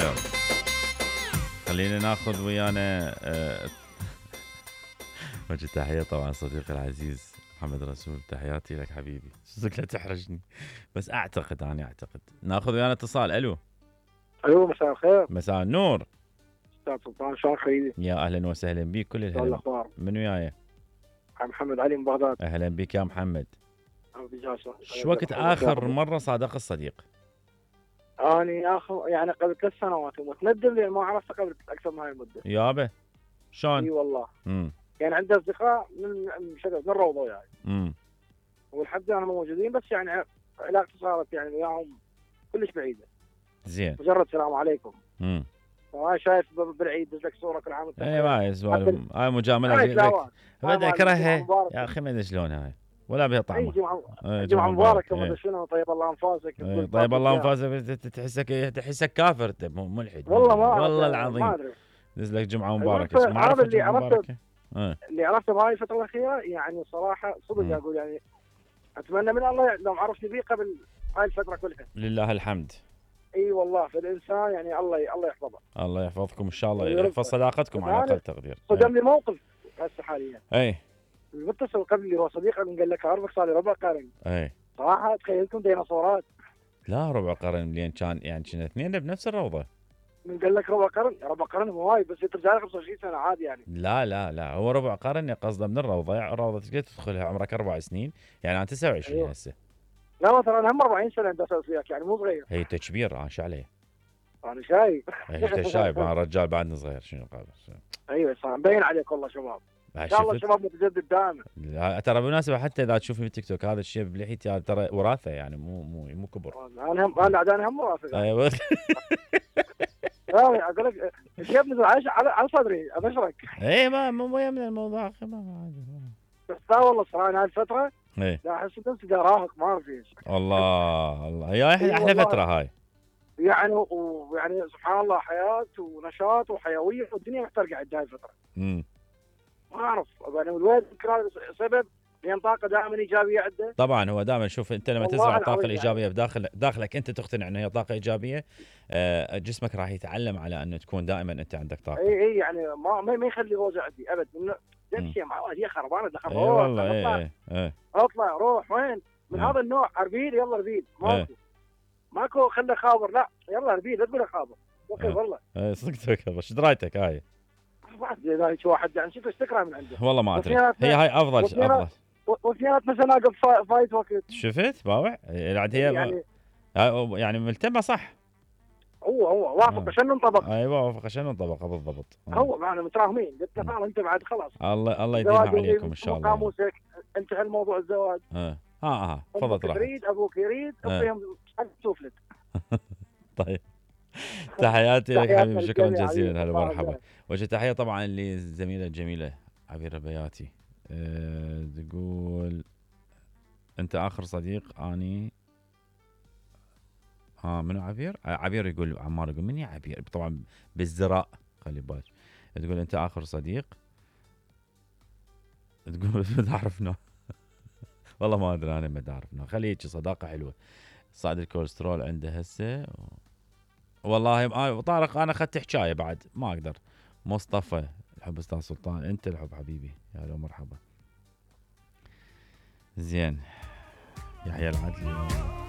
يلا خلينا ناخذ ويانا وجه تحية طبعا صديقي العزيز محمد رسول. تحياتي لك حبيبي. صدق لا تحرجني بس اعتقد ناخذ ويانا اتصال. الو مساء الخير. مساء النور استاذ سلطان، شلونك حبيبي؟ يا اهلا وسهلا بك. كل الهلا. من وياي؟ محمد علي من بغداد. اهلا بك يا محمد. شو وقت اخر مره صادق الصديق؟ اني يعني قبل 3 سنوات ومتندم لان ما عرفته قبل اكثر من هاي المده. يابا شلون؟ اي والله. يعني عندي اصدقاء من الروضه يعني. والحمد لله موجودين، بس يعني علاقتي صارت يعني وياهم كلش بعيده. زين. مجرد السلام عليكم. وأنا شايف بالعيد دز لك صوره كل عام وانت بخير. اي ما هاي مجامله. بدي اكرهها يا اخي. ما ادري شلون هاي ولا بها طعمه. جمعه مباركه ما ادري شنو. طيب الله انفاسك. طيب الله انفاسك. تحسك كافر انت ملحد. والله ما والله العظيم ما ادري. دز لك جمعه مباركه. ما اعرف جمعه مباركه. اللي عرفته بهاي الفتره الاخيره يعني صراحه صدق اقول يعني اتمنى من الله لو عرفت بيه قبل هاي الفتره كلها. لله الحمد. اي والله فالانسان يعني الله يحفظه. الله يحفظكم ان شاء الله. يحفظ صداقتكم على اقل تقدير. صدم لي موقف هسه حاليا. اي المتصل قبل هو صديق قال لك اعرفك صار لي ربع قرن. اي صراحه تخيلتم ديناصورات. لا ربع قرن لين كان يعني كنا اثنين بنفس الروضه. من قال لك ربع قرن هواي بس ترجع لك 25 سنه عادي يعني. لا هو ربع قرن قصده من الروضه تقدر تدخلها عمرك 4 سنين يعني انا 29 هسه. لا ترى انا هم 40 سنه عندي اساس وياك يعني مو صغير. هي انت كبير انا شو عليه؟ انا شايف. انت شايف انا رجال بعدني صغير شنو قابل. ايوه صح مبين عليك والله شباب. ان شاء الله شباب متجدد دائما. ترى بالمناسبه حتى اذا تشوفني بالتيك توك هذا الشيء بلحيتي ترى وراثه يعني مو كبر. انا هم وراثه. ايوه اقول لك الشيب نزل على صدري ابشرك. اي مو يمنع الموضوع اخي ما بس لا والله صراحه هاي الفتره لا احس نفسي راهق ما اعرف ايش. الله يا احلى فتره هاي يعني ويعني سبحان الله حياه ونشاط وحيويه والدنيا محترقه عند هاي الفتره. ما اعرف يعني الواحد يمكن سبب لان طاقه دائما ايجابيه عنده. طبعا هو دائما شوف انت لما تزرع الطاقه الايجابيه بداخلك انت تقتنع ان هي طاقه ايجابيه جسمك راح يتعلم على انه تكون دائما انت عندك طاقه. اي يعني ما يخلي غوزه عندي ابد. نفسي هي خربانه دخل. اي والله اطلع روح وين من هذا النوع اربيل يلا اربيل ماكو خله خابر لا يلا اربيل لا تقول خابر وكيف والله. صدقتك ايش درايتك هاي؟ واحد يعني شفت تقرا من عنده والله ما ادري. هي هاي افضل وفيات مثلا اقف فايت وقت. شفت باوع هي يعني ملتمه صح. هو وافق عشان ننطبق. ايوه وافق عشان ننطبق بالضبط. هو معنا متراهمين قلت له انت بعد خلاص. الله يديمها عليكم ان شاء الله. قاموسك انتهى الموضوع الزواج. تفضل راح. يريد ابوك يريد اعطيهم سوفلت. طيب تحياتي لك حبيبي. شكرا جزيلا. هلا مرحبا. وجه تحيه طبعا للزميله الجميله عبير البياتي. تقول انت اخر صديق اني منو عبير؟ عبير يقول عمار يقول من يا عبير طبعا بالزراء خلي بالك. تقول انت اخر صديق تقول ما اعرف والله ما ادري انا ما اعرف خلي هيك صداقه حلوه. صعد الكوليسترول عنده هسه والله طارق انا اخذت حكايه بعد ما اقدر. مصطفى الحب استاذ سلطان انت الحب حبيبي يا هلا مرحبا. زين يحيى العدلي